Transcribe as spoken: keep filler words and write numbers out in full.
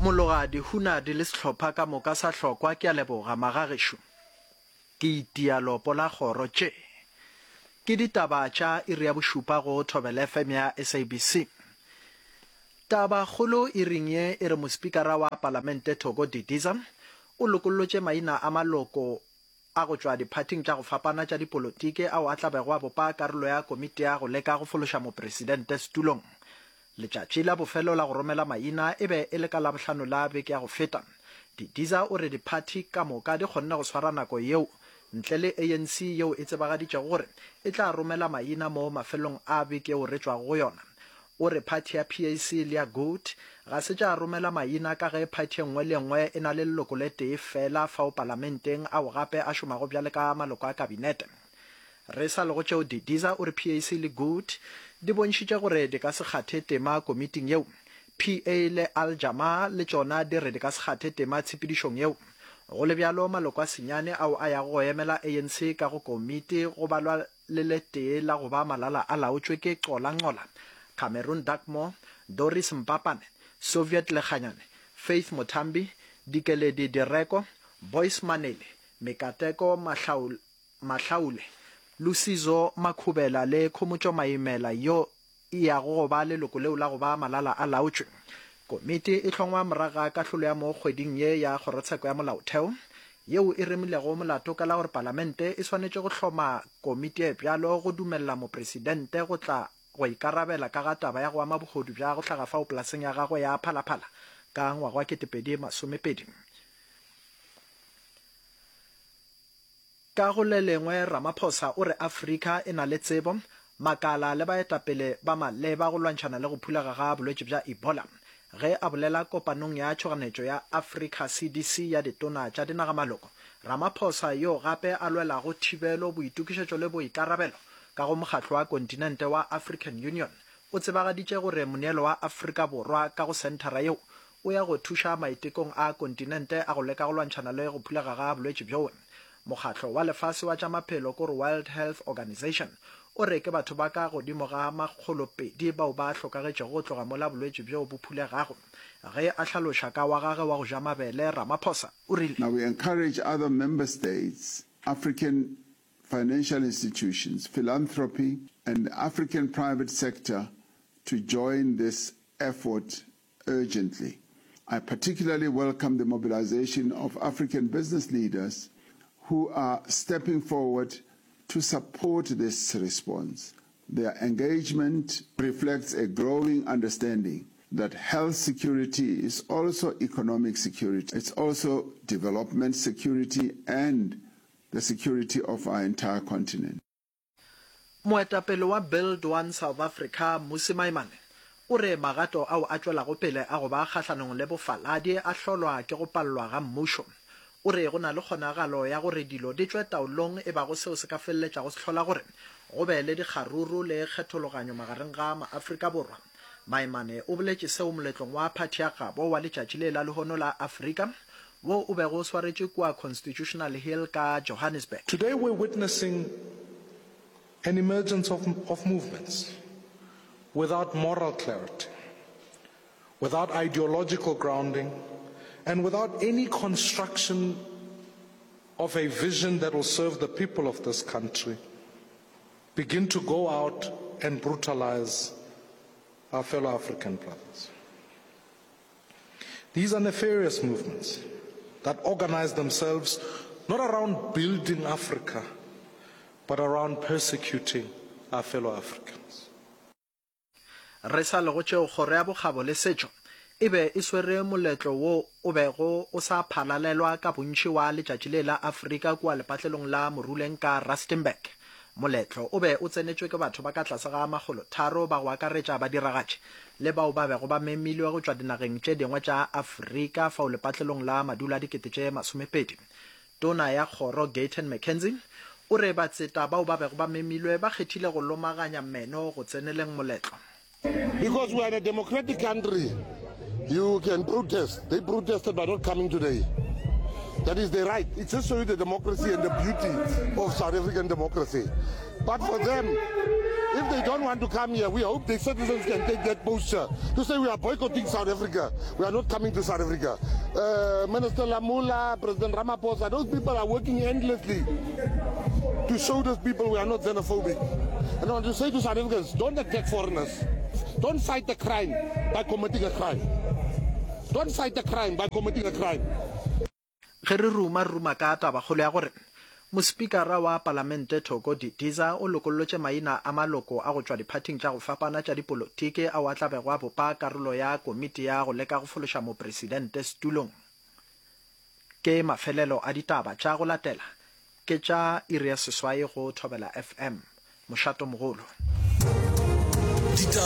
Mologadi, Hunadi le sehlopha ka moka sa Hlokwa ke a leboga magagešo. Ke itia lopo la kgoro tše. Ke ditaba tša iri ya bošupa go Thobela F M ya S A B C. Taba kgolo iring ye e re mospikara wa palamente Thoko Didiza o lokollotše maina a maloko a go tšwa diphathing tša go fapana tša dipolotiki ao a tla bego a bopa karolo ya komiti ya go leka go fološa mopresidente setulong. Letšatši la bofelo la go romela maina e be e le ka Labohlano la beke ya go feta. Didiza o re diphathi ka moka di kgonne go swara nako yeo ntle le A N C yeo e tsebagaditšego gore e tla romela maina mo mafelong a beke yeo re tšwago go yona. O re phathi ya P A C le ya Good ga se tša romela maina ka ge phathi e nngwe le nngwe e na le leloko le tee fela fao palamenteng ao gape a šomago bjale ka maloko a kabinete. Re sa le go tšeo Didiza o re P A C le Good di bontšhitše gore di ka se kgathe tema komiting yeo. P A le Al Jamaa le tšona di re di ka se kgathe tema tshepedišong yeo. Go le bjalo maloko a senyane ao a yago go emela A N C ka go komiti go balwa le le tee la go ba malala a laotšwe ke Xola Nqola, Cameron Dugmore, Doris Mpapane, Soviet Lekganyane, Faith Muthambi, Dikeledi Direko, Boyce Manele, Mikateko Mahlaul-, Mahlaule, Lusizo Makhubela le Khomotšo Maimela yo e yago go ba leloko leo la go ba malala a laotšwe. Komiti e hlongwa morago ga kahlolo ya mo kgweding ye ya kgorotsheko ya molaotheo yeo e remilego molato ka la gore palamente e swanetše go hloma komiti e bjalo go dumelela mopresidente go tla go ikarabela ka ga taba ya go ama bohodu bja go hlaga fao polaseng ya gagwe ya Phalaphala ka ngwaga wa ketepedi masomepedi. Ka go le lengwe Ramaphosa o re Afrika e na le tsebo, makala le baetapele ba maleba go lwantšhana le go phulega ga bolwetši bja Ebola. Ge a bolela kopanong ya tšhoganetšo ya Africa C D C ya ditona tša dinagamaloko, Ramaphosa yo gape a lwelago thibelo, boitokišetšo le boikarabelo ka go mokgatlo wa kontinente wa African Union o tsebagaditše gore moneelo wa Afrika Borwa ka go senthara yeo o ya go thuša maitekong a kontinente a go leka go lwantšhana le go phulega ga bolwetši bjoe. Mokgatlo wa lefase wa tša maphelo kore World Health Organization o re ke batho ba ka godimo ga makgolopedi bao ba hlokagetšego go tloga mola bolwetši bjo bo phulegago. Ge a hlaloša ka wa gagwe wa go ja mabele, Ramaphosa o rile: Now we encourage other member states, African financial institutions, philanthropy and the African private sector to join this effort urgently. I particularly welcome the mobilization of African business leaders who are stepping forward to support this response. Their engagement reflects a growing understanding that health security is also economic security. It's also development security and the security of our entire continent. Moetapele wa Build One South Africa, Mmusi Maimane, o re magato ao a tšwelago pele a go ba kgahlanong le bofaladi a hlolwa ke go pallwa ga mmušo. O re go na le kgonagalo ya gore dilo di tšwe taolong e bago seo se ka feleletšago se hlola gore go be le dikgaruru le kgethologanyo magareng ga maAfrika Borwa. Maimane o boletše seo moletlong wa phathi ya gabo wa letšatši le la lehono la Afrika wo o bego o swaretšwe kua Constitutional Hill ka Johannesburg. Today we're witnessing an emergence of, of movements without moral clarity, without ideological grounding, and without any construction of a vision that will serve the people of this country, begin to go out and brutalize our fellow African brothers. These are nefarious movements that organize themselves not around building Africa, but around persecuting our fellow Africans. Re sa le go tšeo kgoro ya bokgabo le setšo e be e swere moletlo wo o bego o sa phalalelwa ka bontši wa letšatši le la Afrika kua lepatlelong la Moruleng ka Rustenburg. Moletlo o be o tsenetšwe ke batho ba ka tlase ga makgolo tharo ba go akaretša badiragatši le bao ba bego ba memilwe go tšwa dinageng tše dingwe tša Afrika fao lepatlelong la madulo a dikete tše masomepedi. Tona ya kgoro Gayton McKenzie o re batseta bao ba bego ba memilwe ba kgethile go lomaganya meno go tseneleng moletlo. Because we are in a democratic country, you can protest. They protested by not coming today. That is their right. It just shows you the democracy and the beauty of South African democracy. But for them, If they don't want to come here, we hope the citizens can take that posture to say we are boycotting South Africa. We are not coming to South Africa. Uh, Minister Lamula, President Ramaphosa, those people are working endlessly to show those people we are not xenophobic. And I want to say to South Africans, don't attack foreigners. Don't fight the crime by committing a crime. Don't fight the crime by committing a crime. Ge re ruma re ruma ka tabakgolo ya gore Mospikara wa Palamente Thoko Didiza o lokollotše maina a maloko a go tšwa diphathing tša go fapana tša dipolotiki ao a tla bego a bopa karolo ya komiti ya go leka go fološa mopresidente setulong. Ke mafelelo a ditaba tša go latela ke tša iri ya seswai go Thobela F M. Mošatomogolo. Ditaba.